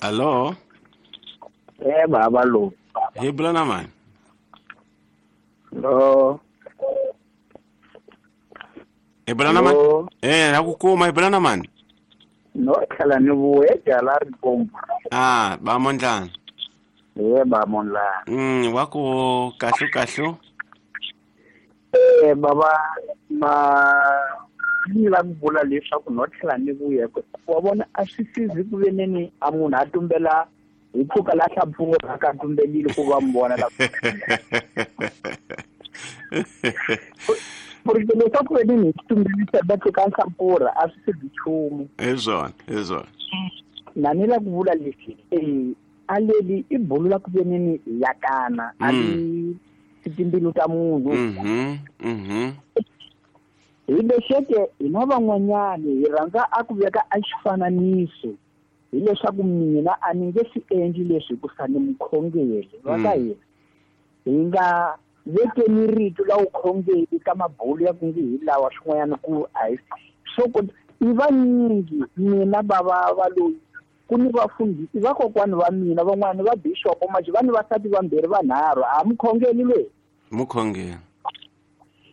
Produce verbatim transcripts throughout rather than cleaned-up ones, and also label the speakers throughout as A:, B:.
A: Allo
B: Eh baba lo.
A: Hi bula na mani?
B: Lo.
A: Hi bula na mani? Eh na ku kuma hi bula na mani?
B: No tlhela ni vuye jala ri komba.
A: Ah, ba mondlana.
B: Eh ba mondlana.
A: Mm, wa ku kahle kahle.
B: Eh baba ma ni la ku vula leswaku no tlhela ni vuye wa vona a swi sizi ku veneni a munhu a tumbela hi pfuka la hlapfurha ka tumbelile ku va mi vona la porque leswaku veneni hi tumbelisa va tluka nhlampfurha a swi sizi nchumu.
A: Hi swona, hi swona.
B: Na ni la ku vula leswi eh a leli i bulu la ku veneni yakana a li timbilu ta munhu.
A: Mhm, mhm.
B: Hi lexeke hina van'wanyani hi rhandza a ku veka a xifananiso hileswaku mina a ni nge swi endli leswi hikusa ni mukhongeri va ka hina hi nga vekeni rito la vukhongeri ka mabulu ya ku nge hi lawa swin'wanyana ku a hi swo ku i vanyingi mina bava va loyi ku ni vafundhisi vakokwani va mina van'wani va bixopo manje va ni vasati vambirhi vanharhu a mukhongeri loyi
A: mukhongeri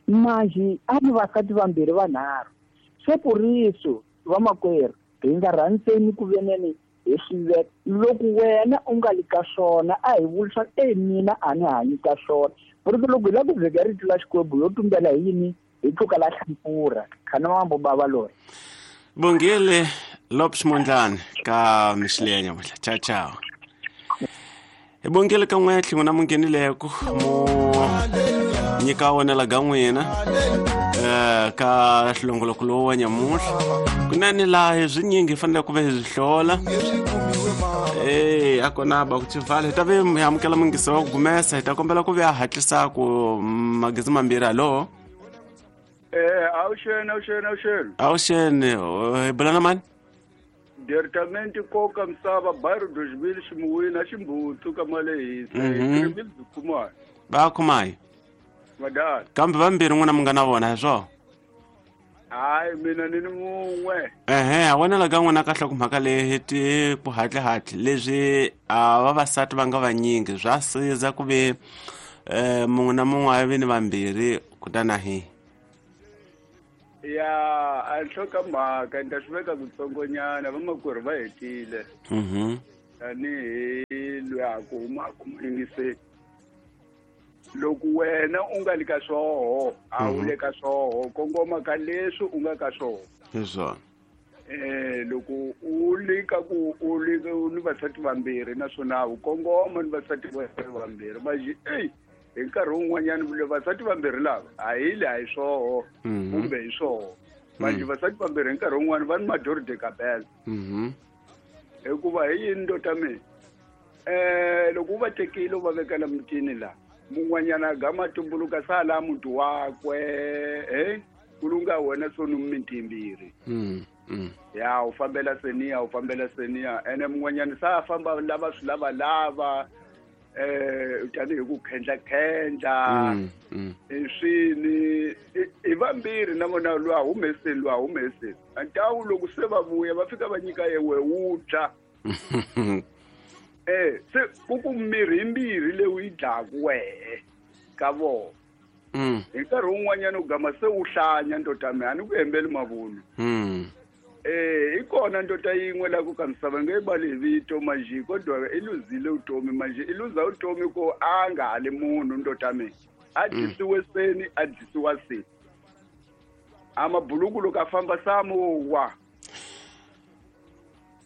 B: manje a ni vasati vambirhi vanharhu se puriso vamakwerhu hi nga rhandzeni ku veneni hi swi veka loko wena u nga li ka swona a hi vuli swa e mina a ni hanyi ka swona porque loko hi lava ku veka rito la Xikwembu yo tumbela hi yini hi tluka la hlampfurha khana mambo bava loyi.
A: Bongile Lopes Mondlane ka Mixilenya muhla. Ciao ciao. Hi bongile ka n'we tlhingo na munghenileko mo nyika wona la ga n'wina eh ka hlongoloko lowu wa nyamuhla kunene laha hi swinyingi hi fanele ku va hi swi hlola eh a kona ba ku tsivala hi ta ve hi amukela mungisi wa ku gumesa hi ta kombela ku ve a hatlisa ku magezi mambirhi. Hallo
C: eh awuxeni awuxeni awuxeni
A: awuxeni hi bula na mani?
C: Department koka misava bairro dois mil ximuwina ximbutsu ka malehisa mm -hmm.
A: Va khumayi
C: madala
A: kambe vambirhi n'wina mi nga na vona hi swona?
C: Hayi mina ni ni mun'we.
A: Ehe a vonela ka n'wina kahle ku mhaka leyi ti ku hatlihatli leswi a vavasati va nga vanyingi swa siza ku ve eh mun'we na mun'we a vi ni vambirhi kutani a hi
C: ya a nhloko mhaka ni ta swi veka kutsongonyana vamakwerhu va hetile.
A: Mhm.
C: Tanihi loyi a ku humaka muyingiseli loko wena u nga li ka swoho a wu le ka swoho kongoma ka leswi u nga ka swoho.
A: Hi swona.
C: Eh loko u li ka ku u li ni vasati vambirhi naswona u kongoma ni vasati vambirhi manje ey hi nkarhi wun'wanyana vasati vambirhi lava a hi le a hi swoho kumbe hi swoho manje vasati vambirhi hi nkarhi wun'wana va ni mador de cabela.
A: Mhm.
C: Hikuva hi yini ndota mina eh loko u va tekile u va vekela mutini la mun'wanyana gama tumbuluka sala muti wakwe eh ku lunga wena sonu miti mbirhi.
A: Mm. Mm.
C: Ya u fambela seniya u fambela seniya ene mun'wanyana sa famba lava swi lava lava eh tanihi ku khendla khendla
A: mm, mm.
C: swini i vambirhi na vona lwa humeseni lwa humeseni antawu loko se va vuya va fika va nyika yewe wu dya eh se ku ku mirhi yimbirhi leyi yi dlaku wehe ka vona.
A: Mm.
C: Hi nkarhi wun'wanyana u gama se u hlanya ndota mi a ni ku hembeli mavunwa.
A: Mm.
C: Eh i kona ndota yin'we la ku ka misava nge bali hi vito manje kodwa i luzile utomi manje i luza utomi ko a nga hali munhu ndota mi a dyisiwe seni a dyisiwa seni a mabuluku loko a famba samuwa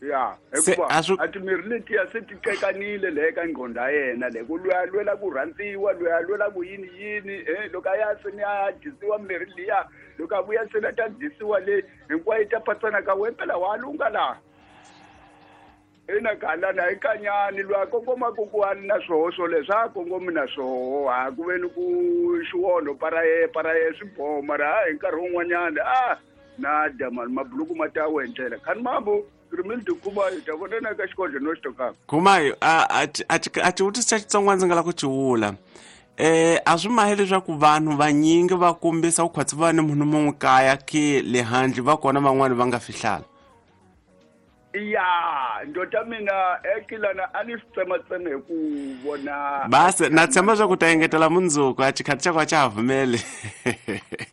C: ya hikuva a timirhi letiya se ti qekanile le ka ngqondo ya yena le ku lweya lwela ku rhandziwa lweya lwela ku yini yini eh loko a ya seni a dyisiwa mirhi liya loko a vuya seni a ta dyisiwa le hinkwayo yi ta patsana ka wena phela wa lunga laha ina galana hi kanyani lwa kongoma ku ku a ni na swoho swoleswo a kongomi na swoho a ku ve ni ku xiwonho para ye para ye swi boho mara hi nkarhi wun'wanyana a na dya mani mabuluku ma ta wendlela khani mambo rimildi Khumayo ta vonana ka xikodlo no xitokaka.
A: Khumayo a a a xivutiso xa Xitsonga ndzi nga lava ku xi vula eh a swi mahi leswaku vanhu vanyingi va kombisa ku khwatsi va ni munhu mun'we kaya ke le handle va kona van'wani va nga fihlala.
C: Ya ndota mina ekilana a ni swi tsematseme hi ku vona
A: basi na tshemba swa ku ta engetela mundzuku a xikhathi xa ku a xa ha pfumeli.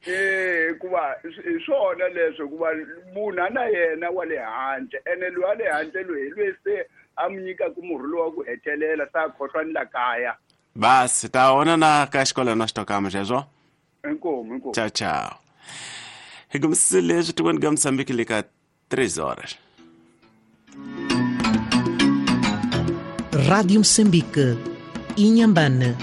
C: Eh hikuva hi swona leswo hikuva munhu a na yena wa le handle ene loyi wa le handle loyi hi loyi se a mi nyikaka murhi lowu wa ku hetelela se a khohlwa ni la kaya.
A: Basi ta vona na ka xikolo na xitokama xexo.
C: Inkomu inkomu.
A: Ciao ciao. Hi kumisile leswi tikweni ka Mozambique le ka três horas.
D: Rádio Moçambique, Inhambane.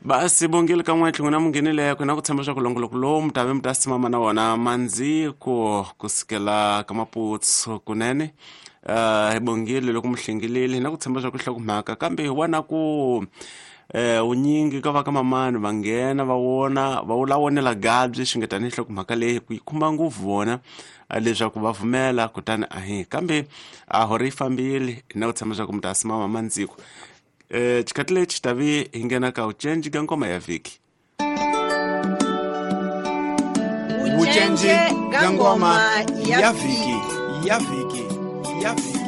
A: Basi bongile ka n'we tlhelo na munghenile ku na ku tshemba swa ku longoloko lowu mi ta ve mi ta simama na wona mandziko ku sukela ka Maputsu kunene. Uh, hi bongile loko mi hlengilile na ku tshemba swa ku hlokomhaka kambe hi vona ku eh unyingi ka va ka mamani va nghena va vona va wula vonela gabyi xi nga tanihi hlokomhaka leyi ku yi khumba ngopfu vona leswaku va pfumela kutani a hi kambe a hori yi fambile na ku tshemba swa ku mi ta simama mandziko. Eh xikhathi lexi ta vi hi nghena ka ucenji ka ngoma ya vhiki.
E: Ucenji ka ngoma ya vhiki ya vhiki ya vhiki.